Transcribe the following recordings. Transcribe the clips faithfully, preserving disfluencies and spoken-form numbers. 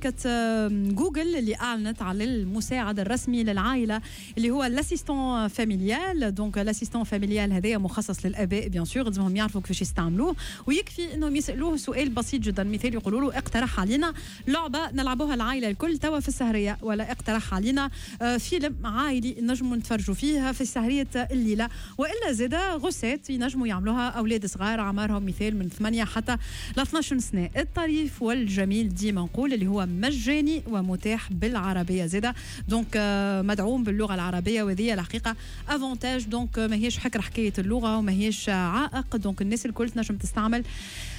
شركة جوجل اللي اعلنت على المساعد الرسمي للعائلة اللي هو l'assistant familial. donc l'assistant familial هذايا مخصص للاباء bien sûr، لازمهم يعرفوا كيفاش يستعملوه، ويكفي انهم يسالوه سؤال بسيط جدا. مثال يقولوا له اقترح علينا لعبه نلعبوها العائلة الكل توا في السهريه، ولا اقترح علينا آه، فيلم عائلي نجموا نتفرجوا فيه في سهريه الليله، والا زاده recette ينجموا يعملوها اولاد صغار اعمارهم مثال من ثمانية حتى ل اثناش سنه. الطريف والجميل ديما نقول اللي هو مجاني ومتاح بالعربية زاده، donc آه، مدعوم باللغة العربيه، وهذه الحقيقة avantage. donc ماهيش حكر حكاية اللغة وماهيش عائق، donc الناس الكل تنجم تستعمل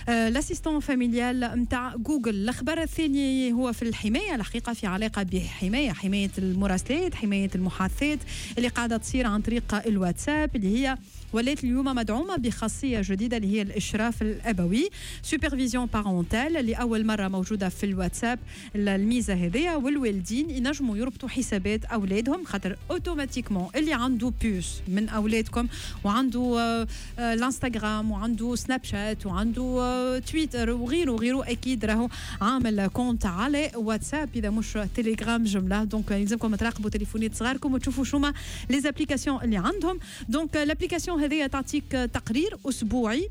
l'assistant familial نتاع جوجل. الخبر الثاني هو في الحمايه، الحقيقة في علاقة بحمايه، حماية المراسلات، حماية المحادثات اللي قاعدة تصير عن طريق الواتساب، اللي هي ولات اليوم مدعومة بخاصيه جديدة اللي هي الاشراف الابوي، supervision parentale، اللي اول مرة موجودة في الواتساب الميزة هذيا. والوالدين ينجموا يربطوا حسابات اولادهم، خاطر automatiquement اللي عنده puce من اولادكم وعنده آه، آه، الانستغرام وعنده سناب شات وعنده آه، تويتر وغيره وغيره، اكيد راهو عامل compte على واتساب اذا مش تليجرام جمله. donc يلزمكم تراقبوا تليفونات صغاركم وتشوفوا شو les applications اللي عندهم. donc l'application هذه تعطيك تقرير اسبوعي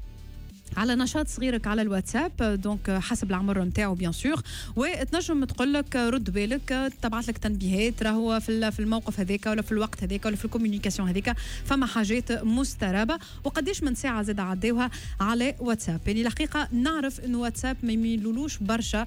على نشاط صغيرك على الواتساب، donc حسب العمر نتاعو bien sûr، وتنجم تقول لك رد بالك، تبعث لك تنبيهات راهو في في الموقف هذاك ولا في الوقت هذاك ولا في ال communication هذيك فما حاجات مسترابه، وقداش من ساعة زاد عداوها على واتساب. يعني الحقيقة نعرف انه واتساب ما يميلولوش برشا،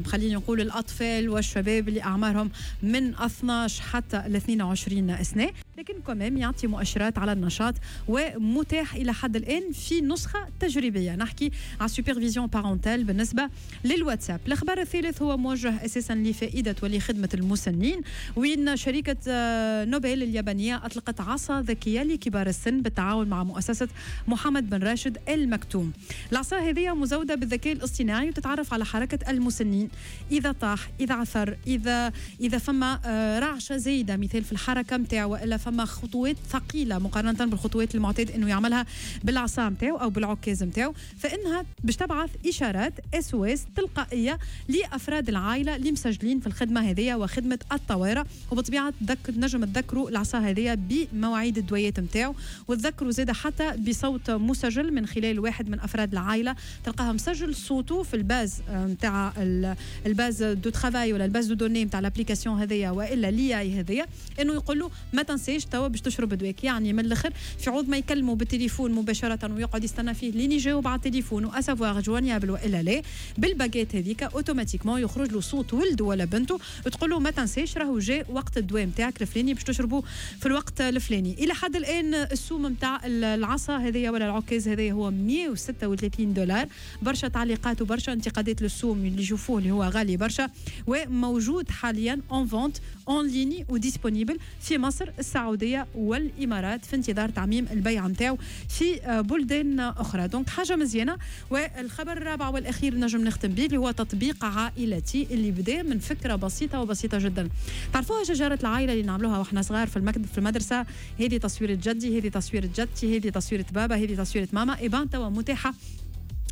خليني نقول الاطفال والشباب اللي اعمارهم من اثناش حتى ل اثنين وعشرين سنه، لكن quand même يعطي مؤشرات على النشاط، ومتاح الى حد الان في نسخه تجريبيه. نحكي على supervision parentale بالنسبة للواتساب. الخبر الثالث هو موجه اساسا لفائدة ولخدمه المسنين، وين شركة آه، نوبل اليابانية اطلقت عصا ذكية لكبار السن بالتعاون مع مؤسسة محمد بن راشد المكتوم. العصا هذه مزوده بالذكاء الاصطناعي وتتعرف على حركة المسنين، اذا طاح، اذا عثر، اذا اذا فما آه، رعشه زايدة مثال في الحركة نتاعو، والا فما خطوات ثقيلة مقارنة بالخطوات المعتاد انه يعملها بالعصا نتاعو او بالعكاز نتاعو، فانها باش تبعث اشارات SOS تلقائية لافراد العائلة اللي مسجلين في الخدمة هذه وخدمه الطوارئ. وبطبيعة تذكر، نجم تذكروا العصا هذه بمواعيد الدويات نتاعو، وتذكروا زاده حتى بصوت مسجل من خلال واحد من افراد العائله، تلقاها مسجل صوته في ال base نتاع ال base de travail ولا ال base de données نتاع l'application هذيا والا l'IA هذيا، انه يقول له ما تنساش توا باش تشرب دواك. يعني من الاخر في عوض ما يكلموا بالتليفون مباشرة ويقعد يستنى فيه لين يجاوب على التليفون و à savoir joignable والا لا، بالباجيت هذيك automatiquement يخرج له صوت ولده ولا بنته تقول له ما تنساش راهو جاء وقت الدواء نتاعك الفلاني باش تشربه في الوقت الفلاني. الى حد الان السوم نتاع العصا هذه ولا العكاز هذه هو مية وستة وثلاثين دولار. برشا تعليقات وبرشا انتقادات للسوم اللي يشوفوه اللي هو غالي برشا، وموجود حاليا en vente en ligne و disponible في مصر، السعودية والامارات، في انتظار تعميم البيع نتاعو في بلدان اخرى. donc حاجة مزيانه. والخبر الرابع والاخير نجم نختم به اللي هو تطبيق عائلتي، اللي بدا من فكرة بسيطة وبسيطة جدا. تعرفوها شجرة العائلة اللي نعملوها واحنا صغار في المكتب في المدرسه؟ هذه تصويره جدي، هذه تصويره جدتي، هذه تصويره بابا، هذه تصويره ماما. eh ben توا متاحة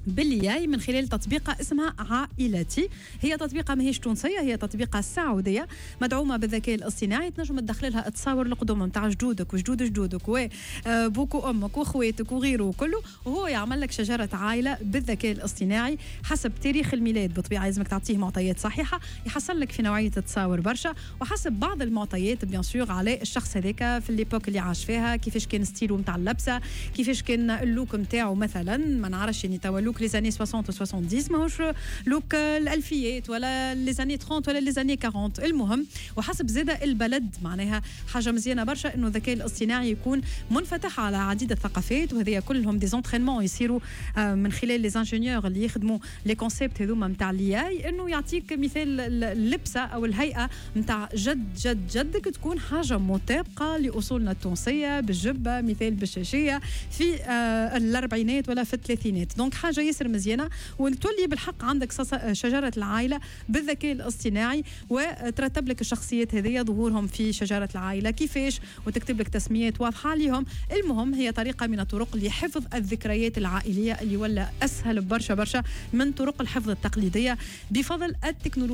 بال l'IA من خلال تطبيقة اسمها عائلتي. هي تطبيقة ماهيش تونسية، هي تطبيقة سعودية مدعومة بالذكاء الاصطناعي. تنجم تدخل لها تصاور القدم نتاع جدودك وجدود جدودك وبوك وامك واخواتك وغيره وكله، وهو يعمل لك شجرة عائلة بالذكاء الاصطناعي حسب تاريخ الميلاد. بالطبيعة لازمك تعطيه معطيات صحيحة، يحصل لك في نوعية تصاور برشا، وحسب بعض المعطيات bien sûr على الشخص هذاك في l'époque اللي عاش فيها، كيفاش كان style نتاع اللبسة، كيفاش كان ال look نتاعو مثلا. ما نعرفش، يعني توا look les années soixante و soixante-dix ماهوش look الالفيات ولا les années trente ولا les années quarante. المهم وحسب زاده البلد. معناها حاجة مزيانه برشا انه الذكاء الاصطناعي يكون منفتح على عديد الثقافات، وهذه كلهم des entraînements يصيروا آه، من خلال les ingénieurs اللي يخدموا les concepts هذوما نتاع l'IA، انه يعطيك مثال اللبسه او الهيئة نتاع جد جد جدك تكون حاجة مطابقه لاصولنا التونسيه، بالجبه مثال، بالشاشيه، في آه، الاربعينات ولا في الثلاثينات. donc حاجة ياسر مزيانه، وتولي بالحق عندك شجرة العائلة بالذكاء الاصطناعي، وترتب لك الشخصيات هذه ظهورهم في شجرة العائلة كيفاش، وتكتب لك تسميات واضحة عليهم. المهم هي طريقه من الطرق لحفظ الذكريات العائلية اللي ولا اسهل برشا برشا من طرق الحفظ التقليدية بفضل التكنولوجيا.